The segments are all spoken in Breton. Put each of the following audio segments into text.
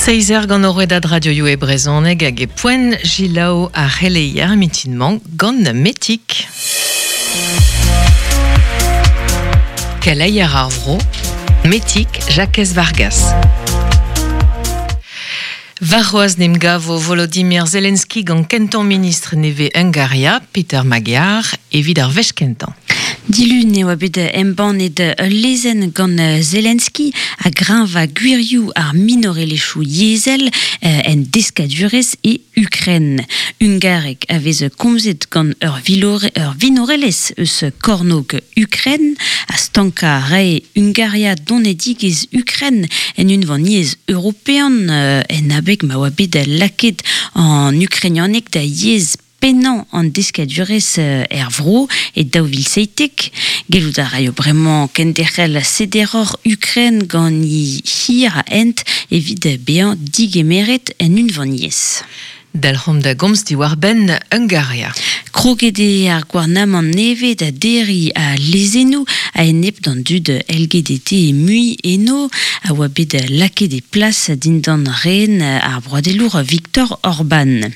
Seizh eur gant Rouedad Radioioù e brezhoneg hag e poent Gilaou ar c'heleier mitin-mañ gant Metik. Keleier ar vro, Metik Jakez Vargas. Warc'hoazh 'n em gavo Volodymyr Zelensky gant kentañ ministr nevez Hungaria, Peter Magyar, evit ar wech kentañ. Dilun e oa bet embannet ul lezenn gant Zelensky a greñva gwirioù ar minorelezhioù yezhel en deskadurezh e Ukren. Hungareg a vez komzet gant ur vinorelezh eus kornôg Ukren ha stankañ a rae Hungaria donedigezh Ukren en Unvaniezh European en abeg ma oa bet lakaet an ukrainianeg da yezh pennañ an deskadurezh er vro e 2017. Gellout a raio bremañ kenderc'hel sederoc'h Ukren gant he hir a hent evit bezañ digemeret en unvaniezh. Dalc'homp da gomz diwar-benn Hungaria. Kroget eo ar gouarnamant nevez da derriñ al lezennoù a-enep d'an dud LGBT mui eno a oa bet lakaet e plas dindan ren ar broadelour Viktor Orban.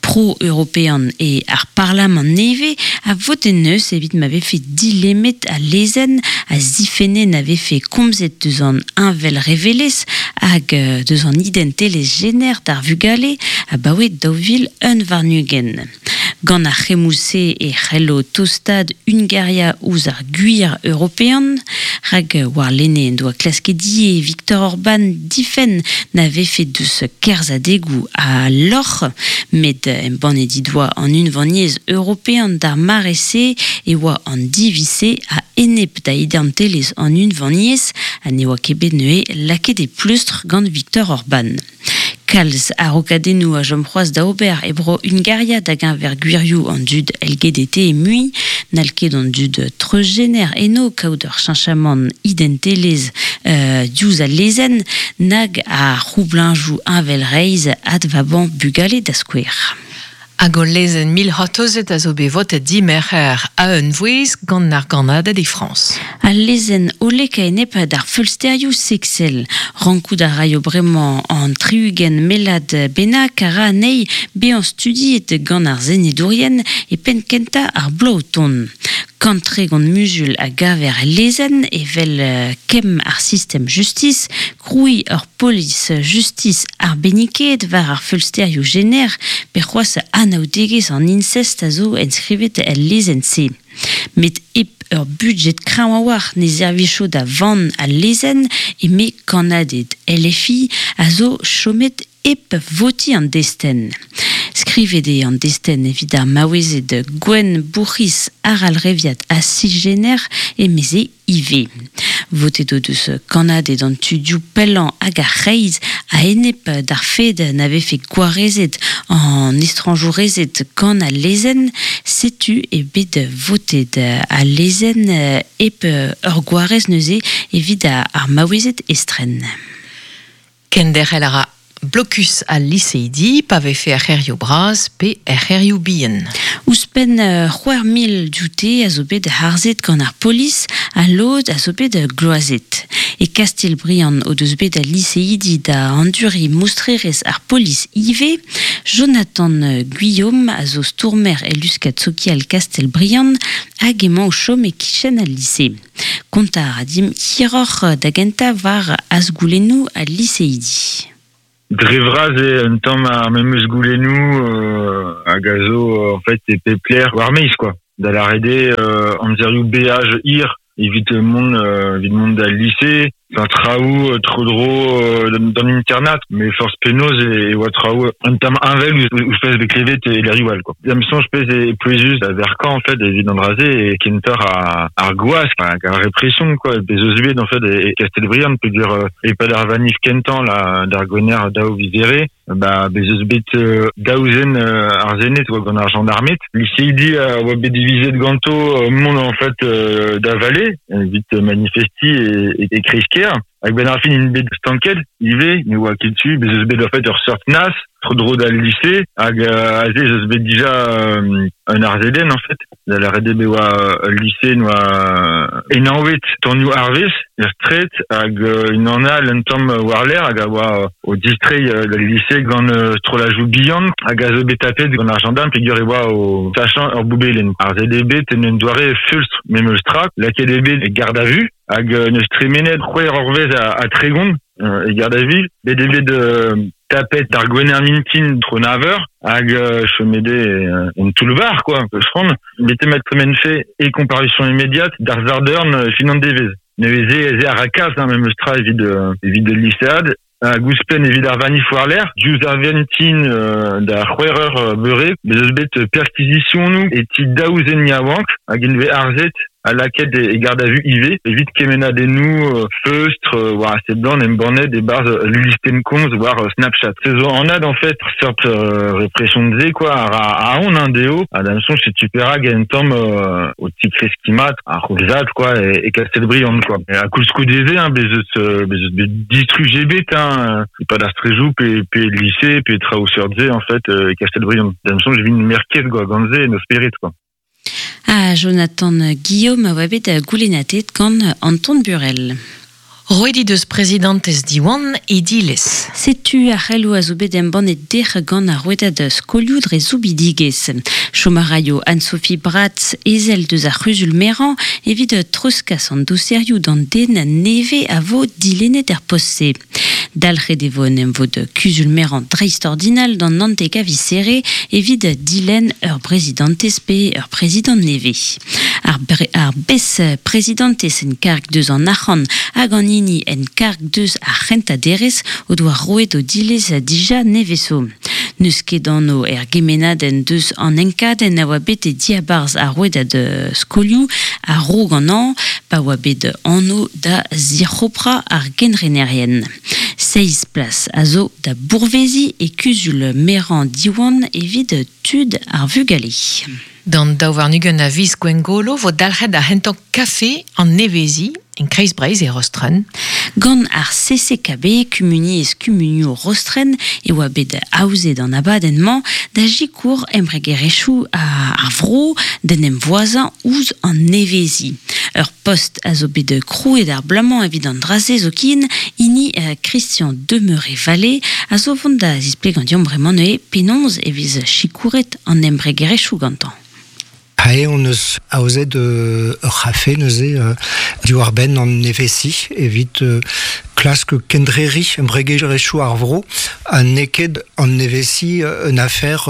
Pro-european eo ar parlamant nevez a vot en deus evit ma vefe dilemmet al lezenn a zifenne na vefe komzet deus an heñvelrevelezh hag deus an identelezh jener d'ar vugale abaoe 2021. Gant ar c'hemmoù-se e c'hello tostaat Hungaria ouzh ar gwir european, rak warlene en doa klasket ivez Viktor Orban difenn na vefe deus kerzhadegoù a lorc'h, met embannet he doa an Unvaniezh European d'ar mare-se e oa an diviz-se a-enep da identelezh an Unvaniezh ha ne oa ket bet neuze lakaet e pleustr gant Viktor Orban. Kalz a-raokadennoù a chom c'hoazh da ober e bro Hungaria da-geñver gwirioù an dud LGBT mui. N'hall ket an dud treuzjener eno kaout ur cheñchamant identelezh diouzh al lezenn, nag ar c'houblañjoù heñvelreizh advabañ bugale da skouer. Hag ul lezenn mil c'hortozet a zo bet votet dimerc'her a-unvouezh gant ar gannaded e Frañs. Al lezenn hollek a-enep d'ar feulsterioù seksel. Rankout a raio bremañ an 60 mellad bennak a ra anezhi bezañ studiet gant ar senedourien e penn kentañ ar bloaz o tont. 130 muzul a gaver el lezenn evel kemm ar sistem justis, krouiñ ur polis justis arbennikaet war ar feulsterioù jener pe c'hoazh anaoudegezh an insest a zo enskrivet el lezenn-se. Met hep ur budjed kreñv a-walc'h ne servijo da vann al lezenn eme kannaded LFI a zo chomet hep votiñ an destenn. Skrivet eo an destenn evit ar maouezed gwenn, bourc'hiz, arallreviat ha cisjener, emeze ivez. Votet o deus kannaded an tudioù pellañ hag ar c'hreiz a-enep d'ar fed na vefe gwarezet an estrañjourezed gant al lezenn. Setu eo bet votet al lezenn hep ur gwarez neuze evit ar maouezed estren. Kenderc'hel a ra blokus al liseidi pa vefe er c'hêrioù bras pe er c'hêrioù bihan. Ouzhpenn 6000 dioute a zo bet harzet gant ar polis ha lod a zo bet gloazet. E Kastell-Briant o deus bet al liseidi da anduriñ moustrerezh ar polis ivez. Jonathan Guillaume a zo stourmer e luskad sokial Kastell-Briant hag emañ o chom e-kichen al lise. Kontañ a ra dimp hiroc'h da gentañ war azgoulennoù al liseidi. Dre vras eo un tamm ar memes goulennoù hag a zo en fait e pep lec'h war maez quoi. Da lâret eo amzerioù beaj hir evit mont evit mont d'al lise, enfin traoù tro-dro d'an internat, met forzh penaos e oa traoù un tamm heñvel ouzh pezh bet klevet e lec'hioù all quoi. Da'm soñj pezh eo pouezus da verkañ en fait evit an dra-se eo kentoc'h ar gwask hag ar represion quoi bez eus bet en fait e Kastell-Briant peogwir e-pad ar vanif kentañ la d'ar Gwener daou viz Here ba bez eus bet daou zen ar Sened oa gant ar jañdarmed. Liseidi a oa bet divizet ganto mont en fait da vale evit manifestiñ e kreiz-kêr. Hag benn ar fin int bet stanket ivez, ne oa ket tu, bez eus bet en fait ur seurt nas. tro-dro d'al lycée hag aze eus bet dija un arzeden en fait. Da la rede oa lycée noa enaouet tonioù arvez er stret hag un an al un tamm war l'air hag a oa o distrei d'al lycée gant strolajou bihan hag a zo bet tapet gant ar gendarme peogwir e oa o sachañ ur boubelen. Ar ZDB ten un doare fulstr mem eus tra, lakaet eo bet e garde à vue hag neus tremenet c'hwec'h eurvezh a tregont e garde à vue, bet eo bet tapet ar gwener mintin tro nav eur hag chomet eo en toull-bar quoi, peus c'hoant. Bet eo mat tremen fait e comparution immédiate d'ar Zardern fin an devezh. Neuze ez eo ar rakaz hein, memes tra evit evit lycéad hag ouzhpenn evit ar vanif war-lerc'h, diouzh ar vintin da c'hwec'h eur beure, bez eus bet perquisitionoù e ti daou zen yaouank hag int vez arzet ha lakaet e garde à vue ivez evit kemennadennoù feustr war a seblant embannet e-barzh ul listenn komz war Snapchat. Se zo anat en fait seurt repression se quoi a ra aon hein, dezho ha d'am soñj setu perak un tamm o tikreskiñ mat ar c'houlzad quoi e Kastellbriand quoi. Ha koulskoude se hein, bez eus bez eus bet distruj ebet hein, e-pad ar strejoù pe pe lycée pe traoù seurt-se en fait e Kastellbriand. D'am soñj e vint merket quoi gant se en o spered quoi. Ha Jonathan Guillaume a oa bet goulennatet gant Anton Burel. Roet he deus prezidantez Diwan he dilez. Setu ar c'heloù a zo bet embannet dec'h gant ar rouedad skolioù dre soubidigezh. Chom a raio Anne-Sophie Bratz, ezel deus ar c'huzul-merañ, evit treuzkas an doserioù d'an den nevez a vo dilennet er post-se. Dalc'het e vo un emvod kuzul-merañ dreistordinal d'an naontek a viz Here evit dilenn ur brezidantez pe ur prezidant nevez. Ar, ar bez-prezidantez en karg deus an arc'hant hag an hini en karg deus ar c'hentañ derez o doa roet o dilez dija nevez zo. N'eus ket anv er gemennadenn deus an enkadenn a oa bet e diabarzh ar rouedad skolioù a-raok an hañv pa oa bet anv da zic'hoprañ ar genrenerien. Seizh plas a zo da bourveziñ e kuzul merañ Diwan evit tud ar vugale. D'an 22 a viz Gwengolo vo dalc'het ar c'hentañ kafe an neveziñ en Kreiz-Breizh e Rostren. Gant ar CCKB, Kumuniezh Kumunioù Rostren, e oa bet aozet an abadenn-mañ da sikour embregerezhioù ar vro d'en em voazañ ouzh an neveziñ. Ur post a zo bet krouet ar bloaz-mañ evit an dra-se zoken, hini Christian Demeuré-Vallée, a zo vont da zisplegañ deomp bremañ neuze penaos e vez sikouret an embregerezhioù gantañ. Aze hon eus aozet ur c'hafe neuze diwar-benn an neveziñ evit klask kendreriñ embregerezhioù ar vro ha n'eo ket an neveziñ un afer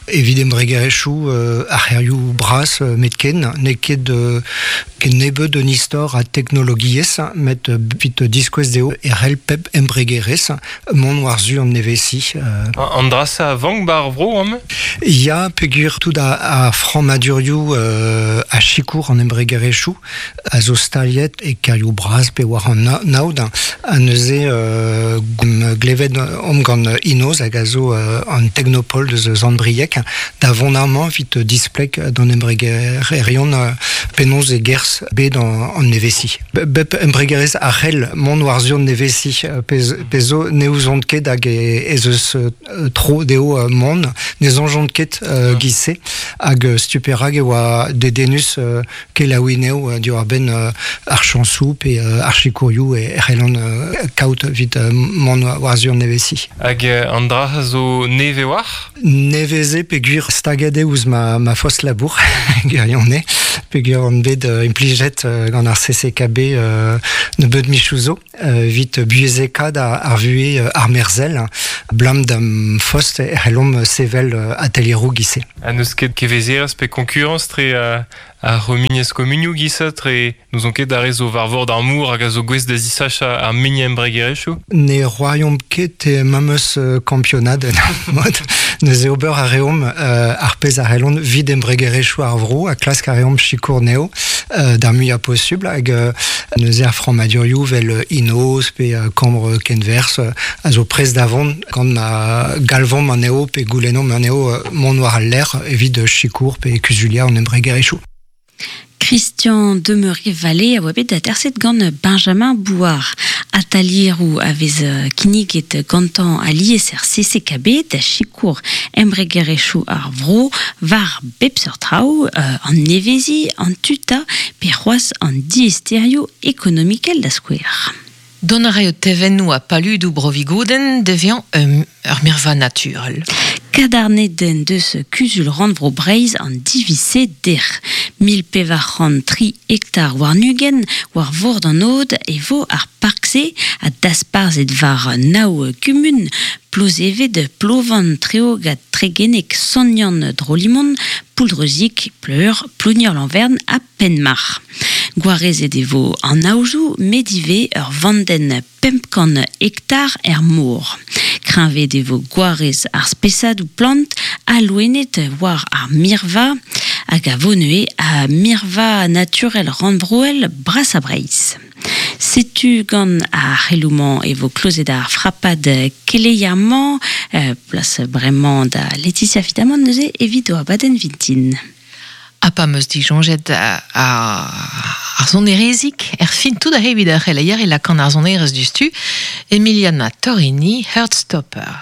evit embregerezhioù ar c'hêrioù bras metken. N'eo ket ken nebeut un istor a teknologiezh met evit diskouez dezho e c'hell pep embregerezh mont war-zu an neveziñ. An dra-se a vank 'ba ar vro amañ? Ya, peogwir tout ar frammadurioù a sikour an embregerezhioù a zo staliet e kêrioù bras pe war an aod. Ha neuze glevet omp gant Inoz hag a zo an teknopol deus Sant-Brieg da vont amañ evit displeg d'an embregererion penaos e gerzh bed an neveziñ. Bep embregerezh a c'hell mont war-zu an neveziñ pezh zo ne ouzont ket hag ez eus tro dezho mont, ne soñjont ket giz-se hag setu perak e oa dedennus kelaouiñ eo diwar-benn ar chañsoù pe ar sikourioù e c'hellont kaout evit mont war-zu an neveziñ. Hag an dra zo nevez war? Nevez eo peogwir staget eo ouzh ma fost labour, gwirionez, peogwir on bet implijet gant ar CCKB nebeut michoù zo evit buhezekaat ar vuhez armerzhel. Ablam d'am fost e c'hellomp sevel atelieroù giz-se. Ha n'eus ket kevezerezh pe konkurañs tre ar c'humuniezh-komunioù giz-se tre n'ouzon ket ar re zo war vord ar mor hag a zo gouest da zisachañ ar muiañ embregerezhioù. Ne c'hoariomp ket memes kampionad en mod. Neuze ober a reomp ar pezh a c'hellont evit embregerezhioù ar vro ha klask a reomp sikour anezho d'ar muiañ posubl hag neuze ar frammadurioù vel Inoz pe Kambr Kenwerzh a zo prest da vont gant ma galvomp anezho pe goulennomp anezho mont war al lec'h evit sikour pe kuzuliañ an embregerezhioù. Christian Demery-Vallée a oa bet aterset gant Benjamin Bouard. Atalieroù a vez kinniget gantañ alies er CCKB da sikour embregerezhioù ar vro war bep seurt traoù, an neveziñ, an tuta pe c'hoazh an diaesterioù ekonomikel da skouer. Dont a raio tevennoù ha paludoù Bro-Vigoudenn da vezañ ur mirva naturel. Kadarnet en deus Kuzul Rannvro Breizh an diviz-se dec'h. 1403 hektar warn-ugent war vord an aod e vo ar park-se ha dasparzhet war nav kumun, Plozeved, Plovan, Treogad, Tregeneg, Sant-Yann, Drolimon, Pouldreuzieg, Pleur, Plonier-Lanvern ha Penmarc'h. Gwarezet e vo an aozoù met ivez ur vandenn 500 hektar er mor. Kreñvaet e vo gwarez ar spesadoù plant ha loened war ar mirva hag a vo neuze ar mirva naturel rannvroel brasañ Breizh. Setu gant ar c'heloù-mañ e vo klozet ar frapad keleier-mañ. Plas bremañ da Laetitia Fitamant neuze evit o abadenn vintin. Ha pa 'm eus disoñjet ar sonerezig, er fin tout aze evit ar c'heleier e lakaan ar sonerezh diouzhtu, Emiliana Torrini, Heartstopper.